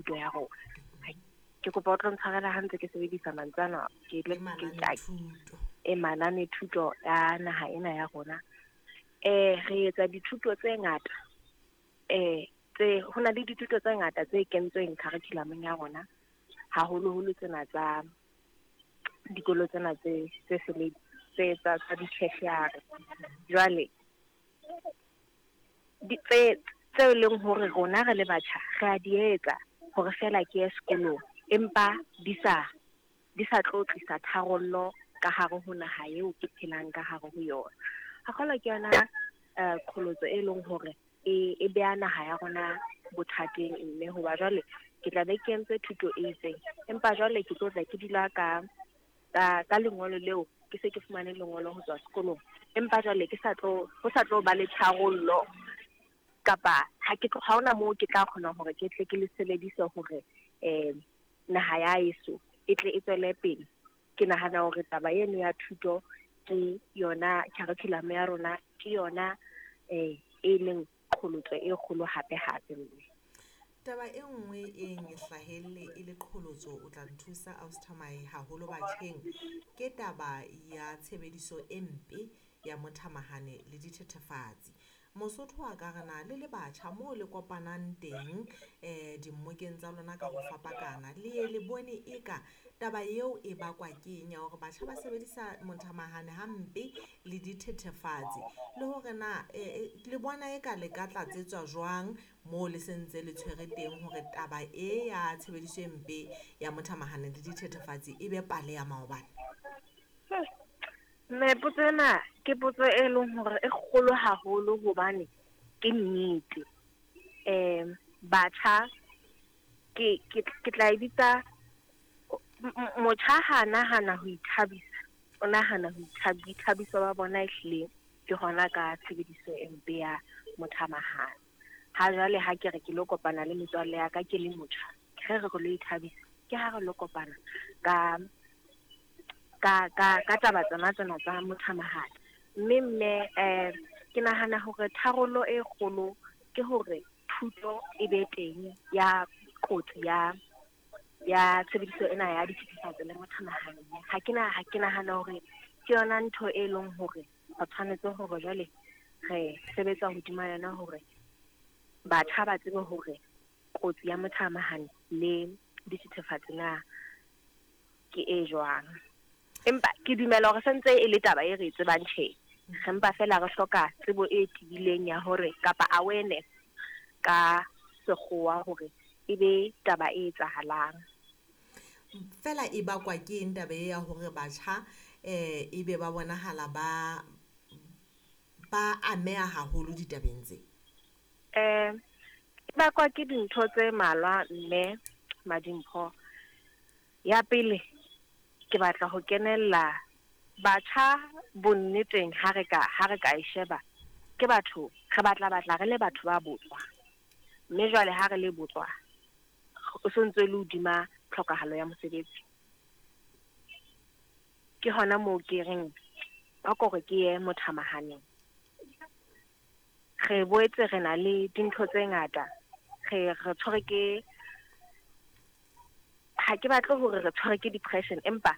thuto ya rona. Ke kopa o tlo ntshwarela ha ntse ke sebedisa mantswe ana, ke Le mananethuto. E mananethuto ya naha ena ya rona. Re etsa dithuto tse ngata, tse ho na le dithuto tse ngata tse kentsweng curriculum-eng ya rona, haholoholo tsena tsa dikolo tsena tse tse sele tse tsa tsa di-tertiary. Jwale di tse tse leng hore rona re le batjha re a di etsa hore fela ke ye sekolong, empa di sa tlo tlisa tharollo ka hare ho naha eo ke phelang ka hare ho yona. Hakgolo ke yona qholotso e leng hore e beha naha ya rona bothateng, mme hoba jwale ke tla be ke entse thuto e itseng, empa jwale ke tlo tla ke dula ka lengolo leo, ke se ke fumane lengolo ho tswa sekolong, empa jwale ke sa tlo ho sa tlo ba le tharollo, kapa ha ke ha hona moo ke tla kgona hore ke tle ke le sebedise hore naha ya heso e tle e tswele pele. Ke nahana hore taba eno ya thuto ke yona curriculum ya rona, ke yona e leng qholotso e kgolo hape hape, mme. Taba e nngwe e hlahelle e le qholotso, o tla nthusa ausi Thamae, haholo batjheng, ke taba ya tshebediso e mpe ya mothamahane le dithethefatsi. Mosotho a ka re na le le batjha moo le kopanang teng dimmokeng tsa lona ka ho fapakana, le ye le bone eka taba eo e bakwa ke eng ya hore batjha ba sebedisa mothamahane hampe le dithethefatsi, le hore na le bona eka le ka tlatsetswa jwang moo le sentse le tshwere teng hore taba e ya tshebediso e mpe ya mothamahane le dithethefatsi e be pale ya maobane? Mme, potso ena ke potso e leng hore e kgolo haholo, hobane ke nnete. Batjha ke tla e bitsa, motjha ha nahana ho ithabisa, o nahana ho boithabiso ba bona ehlile ke hona ka tshebediso e mpe ya mothamahane. Ha jwale ha ke re ke lo kopana le metswalle ya ka ke le motjha, re re re lo ithabisa, ke ha re lo kopana ka taba tsona tsena tsa mothamahane. Mme ke nahana hore tharollo e kgolo ke hore thuto e be teng ya kotsi ya tshebediso ena ya dithethefatsi le mothamahane. Ha ke nahana hore ke yona ntho e leng hore re tshwanetse hore jwale re sebetsa hodima yona, hore batjha ba tsebe hore kotsi ya mothamahane le dithethefatsi na ke e jwang. Empa ke dumela hore sentse e le taba e re e tsebang, tjhe, re mpa fela re hloka tsebo e tibileng ya hore, kapa awareness ka sekgowa, hore e be taba e etsahalang. Fela e bakwa ke eng taba e ya hore batjha e be ba bonahala ba ameha haholo ditabeng tse? E bakwa ke dintho tse malwa, mme Madimpho. Ya pele, ke batla ho kenella batjha bonneteng, ha re ka e sheba, ke batho re batla re le batho ba botswa, mme jwale ha re le botswa, o sontse le hodima tlhokahalo ya mosebetsi. Ke hona moo ke reng ba kore ke ye mothamahaneng. Re boetse re na le dintho tse ngata, re tshwere ke, ha ke batle hore re tshwere ke depression, empa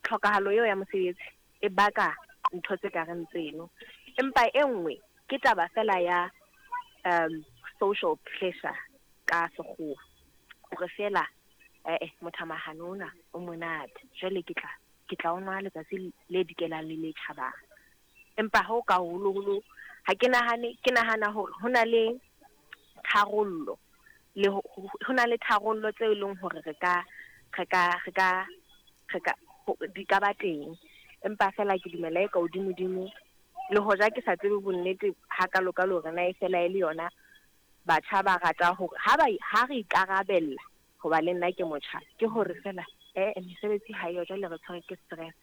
tlhokahalo eo ya mosebetsi e baka ntho tse kareng tseno. Empa e nngwe ke taba fela ya social pressure ka sekgowa, hore fela mothamahane ona o monate, jwale ke tla o nwa letsatsi le dikelang le le tjhabang. Empa ho ka holoholo ha ke nahane, ke nahana hore ho na le tharollo le ho na le tharollo tse leng hore re ka di ka ba teng. Empa fela ke dumela e ka hodimo-dimo, le hoja ke sa tsebe bonnete hakalo-kalo hore na e fela e le yona batjha ba rata hore ha re ikarabella, hoba le nna ke motjha, ke hore fela mesebetsi ha eyo, jwale re tshwere ke stress,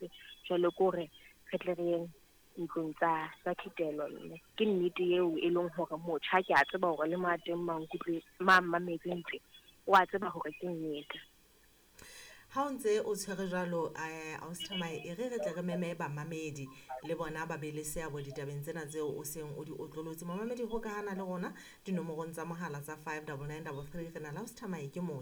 jwale ke hore re tle re yeng ntlong tsa thitelo. Mme ke nnete eo e leng hore motjha, ke a tseba hore le mo a teng mankutlwe ma mmametseng teng, o a tseba hore ke nnete. Ha o ntse o tshwere jwalo, ausi Thamae, e re re tle re meme bamamedi le bona ba be le seabo ditabeng tsena tseo o seng o di otlolotse. Momamedi, hokahana le rona dinomorong tsa mohala tsa 59933. Re na le ausi Thamae, ke motjha.